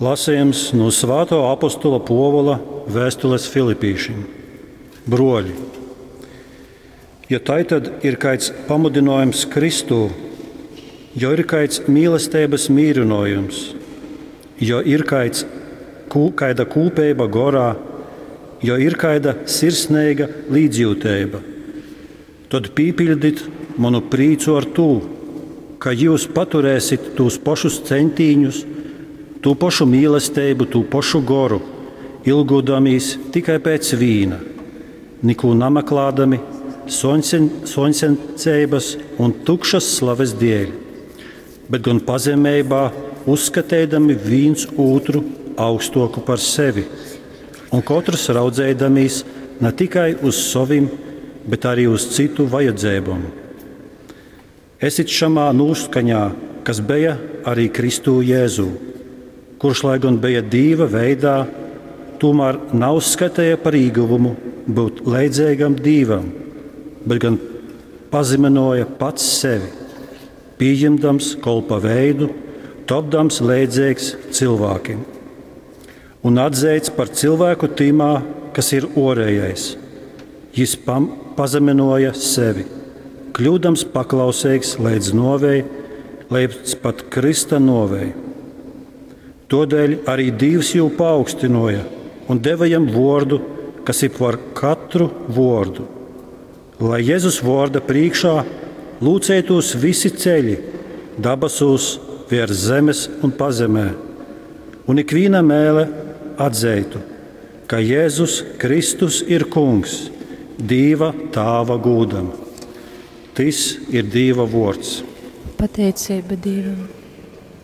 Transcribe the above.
Lasījums no Svāto apostola Povola vēstules Filipīšim. Broļi, ja tai tad ir kāds pamudinājums Kristū, jo ir kāds mīlestības mīrinājums, jo ir kāds, kū, kāda kūpeiba gorā, jo ir kāda sirsnīga līdzjūteiba, tad pīpildit manu prīcu ar tū, ka jūs paturēsit tūs pašus centīņus, tū pašu mīlestību, tū pašu goru, ilgūdamīs tikai pēc vīna, neko nameklādami, soņsencības un tukšas slaves dēļ, bet gan pazemībā uzskatēdami viens otru augstoku par sevi, un katrs raudzēdamīs ne tikai uz savim, bet arī uz citu vajadzībām. Esit šamā noskaņā, kas bija arī Kristū Jēzū, kurš, lai gan bija Dīva veidā, tomēr nav uzskatīja par īguvumu būt leidzīgam Dīvam, bet gan pazeminoja pats sevi, pieņemdams kolpa veidu, topdams leidzīgs cilvēkiem un atzīts par cilvēku tīmā, kas ir orējais. Jis pam, pazeminoja sevi, kļūdams paklausīgs līdz novei, līdz pat Krista novei. Todēļ arī Dievs jū paaugstinoja un deva jam vordu, kas ir par katru vordu. Lai Jēzus vorda priekšā lūcētos visi ceļi, dabasūs, virs zemes un pazemē, un ikviena mēle atzeitu, ka Jēzus Kristus ir Kungs, Dīva Tāva gūdam. Tis ir Dīva vords. Pateicība Dievam.